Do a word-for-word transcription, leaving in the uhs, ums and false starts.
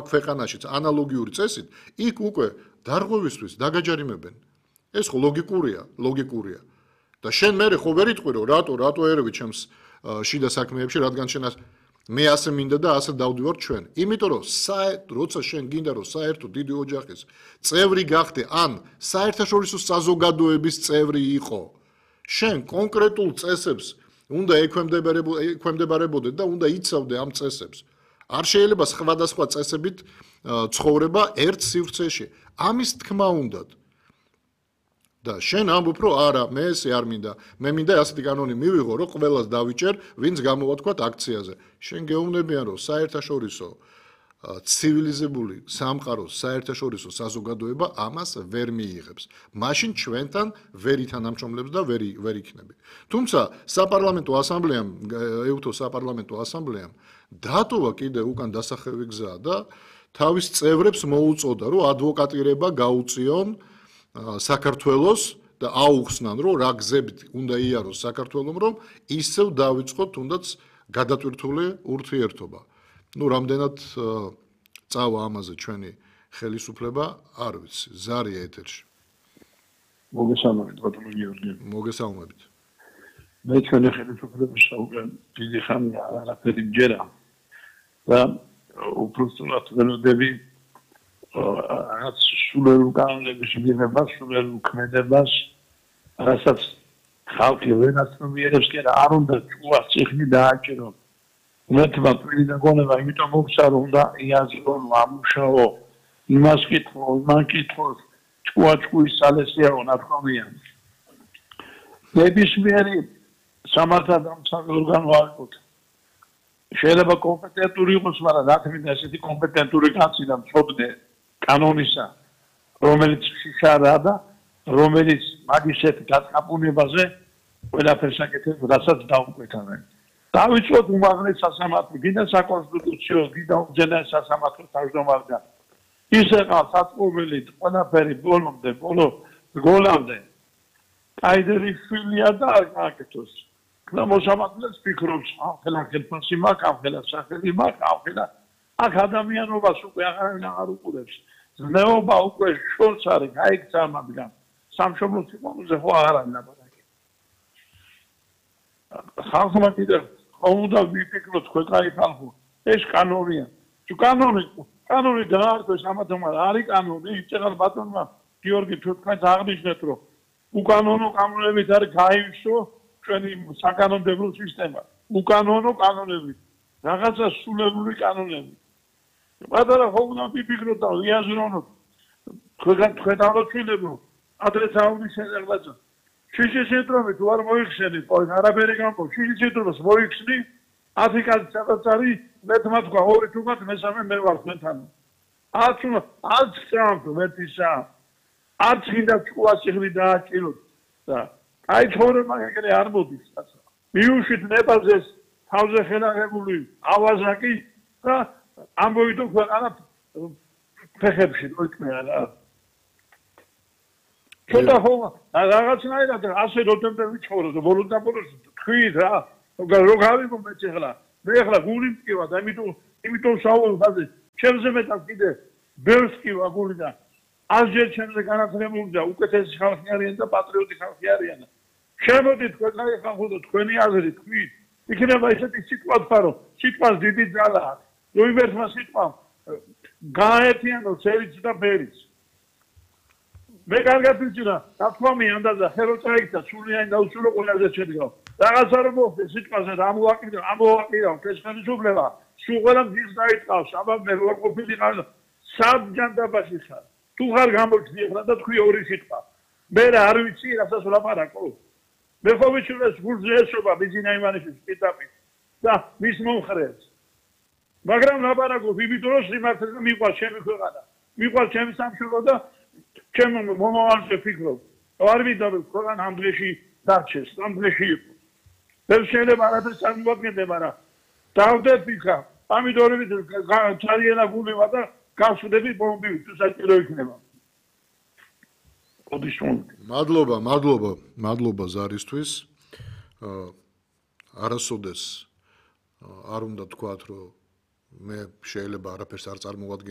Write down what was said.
ქვეყანაშიც ანალოგიური წესით, იქ უკვე დარღვევისთვის დაგაჯარიმებენ. ეს ხო ლოგიკურია, ლოგიკურია. და შენ მე ხო ვერ იტყვი რომ რატო, რატო ერევი ჩემს შიდა საქმეებში, რადგან შენ მე ასე მინდა და ასე დავდივარ ჩვენ. იმიტომ რომ როცა შენ გინდა რომ საერთო დიდი ოჯახის წევრი გახდე, ან საერთაშორისო საზოგადოების წევრი იყო, შენ კონკრეტულ წესებს უნდა ექვემდებარებოდე და უნდა იცავდე ამ წესებს. არ შეიძლება სხვადასხვა წესებით ცხოვრება ერთ სივრცეში. ამის თქმა უნდათ. და შენ ამბობ რომ არა, მე ესე არ მინდა. მე მინდა ასეთი კანონი მივიღო, რომ ყველას დავიჭერ, ვინც გამოვა თქვა აქციაზე. შენ გეუბნებიან რომ საერთაშორისო ცივილიზებული სამყაროს საერთაშორისო საზოგადოება ამას ვერ მიიღებს. მაშინ ჩვენთან ვერ ითანამშრომლებს და ვერ ვერ იქნები. თუმცა საპარლამენტო ასამბლეამ, ეუთო საპარლამენტო ასამბლეამ დატოვა კიდე უკან დასახევი გზა და თავის წევრებს მოუწოდა, რომ ადვოკატირება გაუწიონ საქართველოს და აუხსნან, რომ რა გზებით უნდა იაროს საქართველოს, რომ ისევ დავიწყოთ თუნდაც გადატვირთული ურთიერთობა. ნუ რამდენად წავა ამაზე ჩვენი ხელისუფლება, არ ვიცი, ზარია ეთერში. მოგესალმებით, ბატონო გიორგი. მოგესალმებით. მე ჩვენი ხელისუფლების უკვე დიდი ხანია არაფერი მჯერა. და უბრალოდ ველოდები რაღაც სულერულ კანონების მიღებას, სულერულ ქმედებას, რასაც ხალხი ვენაცნობიერებს კი არ უნდა ჭუას წიხნი დააჭერონ. მეთმა პირინა გონება იმიტომ მოგცა რომ უნდა იაზრონ, ამუშაო, იმას კითხო, იმან კითხოს, ჭკუა ჭკუის სალესიაო ნათქვამია. ნებისმიერი სამართალდამცავი ორგანო არ იყო. შეიძლება კომპეტენტური იყოს, მაგრამ რა თქმა უნდა ესეთი კომპეტენტური კაცი და მწოდნე კანონისა, რომელიც შიშარა და რომელიც მაგისეთ გაწაფუნებაზე ყველაფერს აკეთებს, რასაც დაუკვეთავენ. დავიწყოთ უმაღლეს სასამართლო, გინდა საკონსტიტუციო, გინდა უზენაეს სასამართლო თავმჯდომარიდან. ისე ყავს საწმობილი ყველაფერი ბოლომდე, ბოლო გოლამდე. კაიდერი შვილია და აკეთოს. და მოსამართლეს ფიქრობს, ახლა ხელფასი მაქვს, ახლა სახელი მაქვს, ახლა აქ ადამიანობას უკვე აღარავინ აღარ უყურებს. ზნეობა უკვე შორს არის, გაიქცა მაგრამ სამშობლოს სიყვარულზე ხო აღარ არის ლაპარაკი. ხალხმა კიდევ ხომ უნდა ვიფიქროთ ქვეყანი ხალხო, ეს კანონია. თუ კანონი, კანონი დაარქვეს ამათომა არის კანონი, იცეღარ ბატონმა გიორგი თქვენს აღნიშნეთ რომ უკანონო კანონებით არის გაივსო ჩვენი საკანონმდებლო სისტემა. უკანონო კანონები, რაღაცა სულერული კანონები. პატარა ხო უნდა ვიფიქროთ და ვიაზრონოთ თქვენ თქვენ ამოცინებო ადრე საუბრის შეგაძა შიში ცენტრომი თუ არ მოიხსენით ყო არაფერი გამო შიში ცენტრომს მოიხსნი ათი კაცი სადაც არის მეთმა თქვა ორი თუმად მესამე მე ვარ თქვენთან არც არც წამთ მეთისა არც გინდა ჭკუას იღრი დააჭიროთ და აი ცხოვრება ეგრე არ მოდის კაცო მიუშვით ნებაზეს თავზე ხელაღებული ავაზაკი და ამბობთ ქვეყანა ფეხებში მოიქნება რა. ცოტა ხო რაღაცნაირად ასე როდემდე ვიცხოვროთ და ბოლოს და ბოლოს თქვით რა. რო გავიგო მეც ახლა მე ახლა გული მტკივა და იმიტომ იმიტომ საუბრობ ხაზე ჩემზე მეტად კიდე ბევრს მტკივა გული და ასჯერ ჩემზე განათლებული და უკეთესი ხალხი არიან და პატრიოტი ხალხი არიან. შემოდით ქვეყნარი ხალხო და თქვენი აზრი თქვით. იქნება ესეთი სიტყვა თქვა რომ სიტყვას დიდი ძალა აქვს. როიმერთმა სიტყვამ გააერთიანო ცერიც და ფერიც. მე კარგად ვიცი რა, თქომი ანდაზა ხელო წაიქცა, სულიანი და უსულო ყველაზე შედგა. რაღაცა რომ მოხდა სიტყვაზე და ამოვაკიდო, ამოვაკიდო ეს ხელისუფლება, სულ ყველა მის დაიწყავს, აბა მე რო ყოფილიყავ საბჯანდაბაში ხარ. თუ ხარ გამოჩდი ახლა და თქვი ორი სიტყვა. მე რა არ ვიცი რასაც ვლაპარაკო. მე ხო ვიცი რომ გულზე ესობა ბიზინა იმანიშვილის პიტაპი და მის მომხრეს. მაგრამ ლაპარაკობ იმიტომ რომ სიმართლე მიყვარს ჩემი ქვეყანა. მიყვარს ჩემი სამშობლო და ჩემ მომავალზე ვფიქრობ. არ მინდა რომ ქვეყანა ამ დღეში დარჩეს, ამ დღეში იყოს. ვერ შეიძლება არაფერს წარმოვადგენდე, მაგრამ დავდეთ ვიქა. ამიტომ ძალიან გულება და გავშვდები ბომბივით, თუ საჭირო იქნება. მადლობა, მადლობა, მადლობა ზარისთვის. არასოდეს არ უნდა თქვათ, რომ მე შეიძლება არაფერს არ წარმოვადგენ